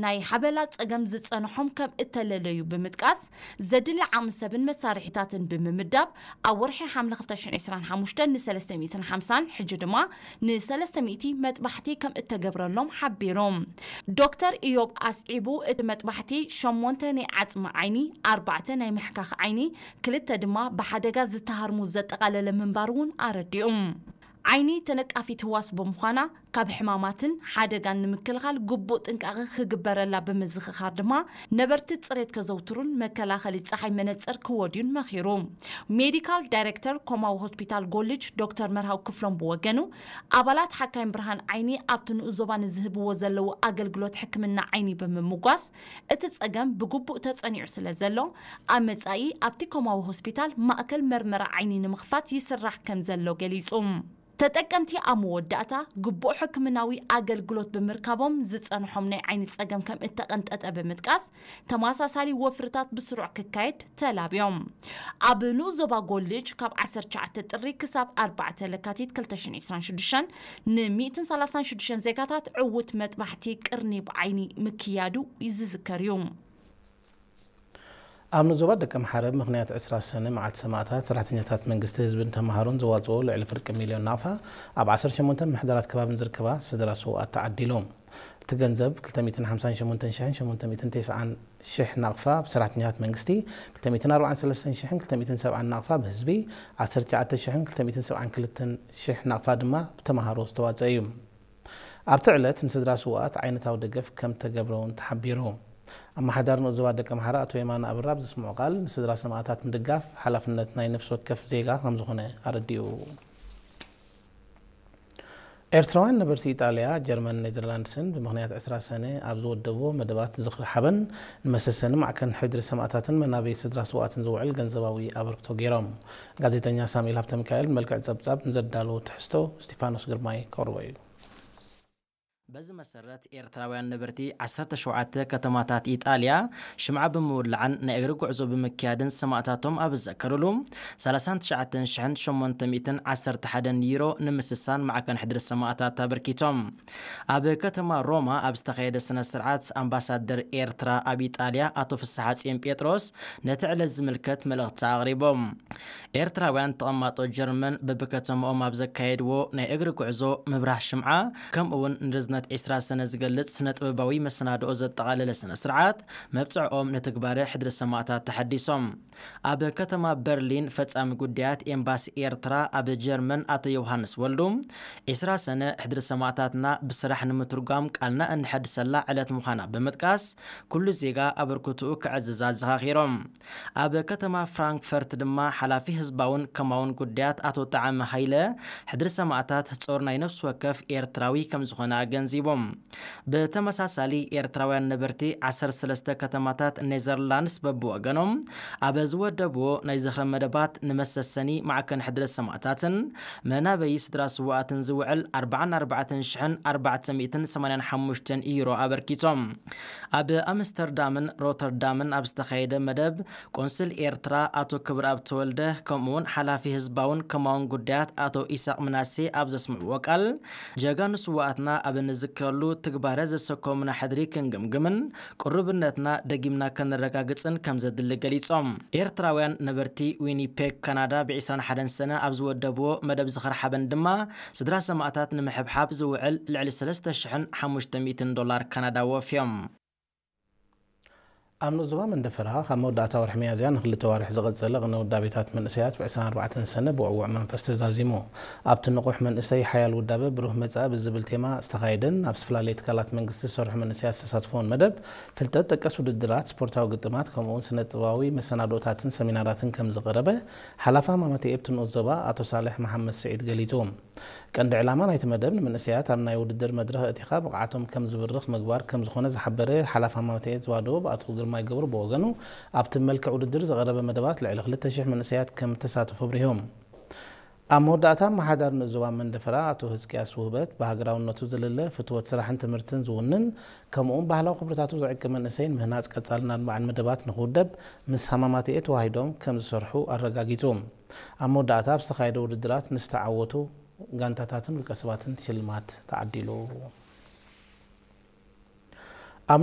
ናይ ሓበላ ጸገም ዝጸንሖም ከም እተለለዩ ብምጥቃስ፣ ዘድሊ ዓቕሚ ሰብን መሳርሒታትን ብምምዳብ፣ ኣብ ወርሒ ሓምለ ክልተ ሽሕን ዕስራን ሓሙሽተን ን ሰለስተ ሚእትን ሓምሳን፣ ሕጂ ድማ ን ሰለስተ ሚእቲ መጥባሕቲ ከም እተገብረሎም ሓቢሩ። ዶክተር ኢዮብ ኣስዒቡ፣ እቲ መጥባሕቲ ሸሞንተ ናይ ዓጽሚ ዓይኒ፣ ኣርባዕተ ናይ ምሕካኽ ዓይኒ፣ ክልተ ድማ ብሓደጋ ዝተሃርሙ ዘጠቓለለ ምንባሩ እውን ኣረዲኡ። ዓይኒ ተነቃፊት ህዋስ ብምዃና፣ ካብ ሕማማትን ሓደጋን ንምክልኻል ግቡእ ጥንቃቐ ክግበረላ ብምዝኽኻር ድማ፣ ነበርቲ ጽሬት ከዘውትሩን መከላኸሊ ጸሓይ መነጽር ክወድዩን መኺሩ። ሜዲካል ዳይሬክተር ኮማዊ ሆስፒታል ጎልጅ ዶክተር መርሃው ክፍሎም ብወገኑ፣ ኣባላት ሓካይም ብርሃን ዓይኒ ኣብቲ ንኡስ ዞባ ንዝህብዎ ዘለዉ ኣገልግሎት ሕክምና ዓይኒ ብምምጓስ፣ እቲ ጸገም ብግቡእ ተጸኒዑ ስለ ዘሎ፣ ኣብ መጻኢ ኣብቲ ኮማዊ ሆስፒታል ማእከል መርመራ ዓይኒ ንምኽፋት ይስራሕ ከም ዘሎ ገሊጹ። ተጠቀምቲ ኣብ መወዳእታ ግቡእ ሕክምናዊ ኣገልግሎት ብምርካቦም ዝጸንሖም ናይ ዓይኒ ጸገም ከም እተቐንጠጠ ብምጥቃስ፣ ተመሳሳሊ ወፍርታት ብስሩዕ ክካየድ ተላብዮም። ኣብ ንኡስ ዞባ ጎልጅ ካብ ዓሰርተ ትሽዓተ ጥሪ ክሳብ ኣርባዕተ ለካቲት ክልተ ሽሕን ዕስራን ሽዱሽተን ን ሚእትን ሰላሳን ሽዱሽተን ዜጋታት ዕዉት መጥባሕቲ ቅርኒ ብዓይኒ ምክያዱ ዝዝከር እዩ። ኣብ ንኡስ ዞባ ደቀምሓረ ምኽንያት ዕስራ ሰነ መዓልቲ ሰማእታት፣ ሰራሕተኛታት መንግስቲ፣ ህዝብን ተምሃሮን ዘዋፅኦ ልዕሊ ፍርቂ ሚልዮን ናቕፋ ኣብ ዓሰርተ ሸሞንተ ምምሕዳራት ከባብን ዝርከባ ስድራ ስውኣት ተዓዲሉ። እቲ ገንዘብ ክልተ ሚእትን ሓምሳን ሸሞንተን ሽሕን ሸሞንተ ሚእትን ተስዓን ሽሕ ናቕፋ ብሰራሕተኛታት መንግስቲ፣ ክልተ ሚእትን ኣርባዓን ሰለስተን ሽሕን ክልተ ሚእትን ሰብዓን ናቕፋ ብህዝቢ፣ ዓሰርተ ትሽዓተ ሽሕን ክልተ ሚእትን ሰብዓን ክልተን ሽሕ ናቕፋ ድማ ብተምሃሮ ዝተዋፀ እዩ። ኣብቲ ዕለት ንስድራ ስውኣት ዓይነታዊ ደገፍ ከም ተገብረ እውን ተሓቢሩ። ኣመሓዳሪ ንኡስ ዞባ ደቀምሓረ ኣቶ የማነ ኣብራ ኣብ ዘስምዖ ቃል፣ ንስድራ ሰማእታት ምድጋፍ ሓላፍነት ናይ ነፍሲ ወከፍ ዜጋ ከም ዝኾነ ኣረዲኡ። ኤርትራውያን ነበርቲ ኢጣልያ፣ ጀርመን፣ ኔዘርላንድስን ብምኽንያት ዕስራ ሰነ ኣብ ዝወደብዎ መደባት ዝኽሪ ሓበን ንመሰሰኒ ማዕከን ሕድሪ ሰማእታትን መናበይ ስድራ ስውኣትን ዝውዕል ገንዘባዊ ኣበርክቶ ገይሮም። ጋዜጠኛ ሳሙኤል ሃብተሚካኤል ብመልክዕ ጸብጻብ ንዘዳለዎ ትሕዝቶ እስጢፋኖስ ግርማይ ከቕርቦ እዩ። በዚ መሰረት ኤርትራውያን ነበርቲ ዓሰርተ ሸውዓተ ከተማታት ኢጣልያ ሽምዓ ብምውላዕን ናይ እግሪ ጉዕዞ ብምክያድን ሰማእታቶም ኣብ ዝዘከሩሉ፣ ሰላሳን ትሽዓተን ሽሕን ሸሞንተ ሚእትን ዓሰርተ ሓደን ዩሮ ንምስሳን ማዕከን ሕድሪ ሰማእታት ኣበርኪቶም። ኣብ ከተማ ሮማ ኣብ ዝተኻየደ ስነ ስርዓት፣ ኣምባሳደር ኤርትራ ኣብ ኢጣልያ ኣቶ ፍስሓጽዮን ጴጥሮስ ነቲ ዕለት ዝምልከት መልእኽቲ ኣቕሪቦም። ኤርትራውያን ተቐማጦ ጀርመን በብከተማኦም ኣብ ዘካየድዎ ናይ እግሪ ጉዕዞ ምብራህ ሽምዓ፣ ከምኡ እውን ንርዝነት ዕስራ ሰነ ዝገልጽ ስነ ጥበባዊ መሰናድኦ ዘጠቓለለ ስነ ስርዓት መብጽዕኦም ንትግባረ ሕድሪ ሰማእታት ተሓዲሶም። ኣብ ከተማ በርሊን ፈጻሚ ጉዳያት ኤምባሲ ኤርትራ ኣብ ጀርመን ኣቶ ዮሃንስ ወልዱ፣ ዕስራ ሰነ ሕድሪ ሰማእታትና ብስራሕ ንምትርጓም ቃልና እንሐድሰላ ዕለት ምዃና ብምጥቃስ፣ ኩሉ ዜጋ ኣበርክትኡ ከዕዝዝ ኣዘኻኺሮም። ኣብ ከተማ ፍራንክፈርት ድማ ሓላፊ ህዝባውን ከማውን ጉዳያት ኣቶ ጣዕመ ሃይለ፣ ሕድሪ ሰማእታት ጾር ናይ ነፍሲ ወከፍ ኤርትራዊ ከም ዝኾነ ኣገንዚቦም። ብተመሳሳሊ፣ ኤርትራውያን ነበርቲ ዓሰርተ ሰለስተ ከተማታት ኔዘርላንድስ በብወገኖም ኣብ ዝወደብዎ ናይ ዝኽሪ መደባት ንመሰሰኒ ማዕከን ሕድሪ ሰማእታትን መናበዪ ስድራ ስውኣትን ዝውዕል ኣርባዓን ኣርባዕተን ሽሕን ኣርባዕተ ሚእትን ሰማንያን ሓሙሽተን ዩሮ ኣበርኪቶም። ኣብ ኣምስተርዳምን ሮተርዳምን ኣብ ዝተኻየደ መደብ፣ ቆንስል ኤርትራ ኣቶ ክብረኣብ ተወልደ፣ ከምኡውን ሓላፊ ህዝባውን ከማውን ጉዳያት ኣቶ ኢሳቕ ምናሴ ኣብ ዘስምዕዎ ቃል፣ ጀጋኑ ስውኣትና ኣብ እንዝክረሉ ትግባረ ዘሰከሙና ሕድሪ ክንግምግምን ቅሩብነትና ደጊምና ከነረጋግጽን ከም ዘድሊ ገሊጾም። ኤርትራውያን ነበርቲ ዊኒፔግ ካናዳ ብ ዕስራን ሓደን ሰነ ኣብ ዝወደብዎ መደብ ዝኽሪ ሓበን ድማ፣ ስድራ ሰማእታት ንምሕብሓብ ዝውዕል ልዕሊ ሰለስተ ሽሕን ሓሙሽተ ሚእትን ዶላር ካናዳ ወፍዮም። ኣብ ንኡስ ዞባ መንደፈራ፣ ካብ መወዳእታ ወርሒ ሚያዝያ ንክልተ ኣዋርሕ ዝቐጸለ ቅነ ውዳቤታት መንእሰያት ብ ዕስራን ኣርባዕተን ሰነ ብውዕዉዕ መንፈስ ተዛዚሙ። ኣብቲ ንቑሕ መንእሰይ ሓያል ውዳበ ብሩህ መጻኢ ብዝብል ቴማ ዝተኻየደን ኣብ ዝተፈላለየ ትካላት መንግስቲ ዝሰርሑ መንእሰያት ዝተሳትፍዎን መደብ፣ ፍልጠት ጠቀስ ውድድራት፣ ስፖርታዊ ግጥማት፣ ከምኡ'ውን ስነ-ጥበባዊ መሰናዶታትን ሰሚናራትን ከም ዝቐረበ፣ ሓላፊ ሃማመተ ኤብ እቲ ንኡስ ዞባ ኣቶ ሳልሕ መሓመድ ስዒድ ገሊጹ። ቀንዲ ዕላማ ናይቲ መደብ፣ ንመንእሰያት ኣብ ናይ ውድድር መድረኽ ኣእቲኻ ብቕዓቶም ከም ዝብርኽ ምግባር ከም ዝኾነ ዝሓበረ ሓላፊ ሃማመተ ኤብ ዞባ ደቡብ ኣቶ ግርማይ ገብሩ ብወገኑ፣ ኣብቲ መልክዕ ውድድር ዝቐረበ መደባት ልዕሊ ክልተ ሽሕ መንእሰያት ከም እተሳተፉ ኣብሪሁ። ኣብ መወዳእታ፣ ኣመሓዳሪ ንኡስ ዞባ መንደፈራ ኣቶ ህዝቅያስ ውህበት፣ ብሃገራውነቱ ዝልለ፣ ፍትወት ስራሕን ትምህርትን ዝውንን፣ ከምኡ'ውን ባህላዊ ክብርታቱ ዝዕቅብ መንእሰይ ንምህናጽ ቀጻልን ኣድማዕን መደባት ንኽውደብ ምስ ሃማማተኤ ተዋሂዶም ከም ዝሰርሑ ኣረጋጊጹ። ኣብ መወዳእታ፣ ኣብ ዝተኻየደ ውድድራት ንዝተዓወቱ ጋንታታትን ውልቀ ሰባትን ሽልማት ተዓዲሉ። ኣብ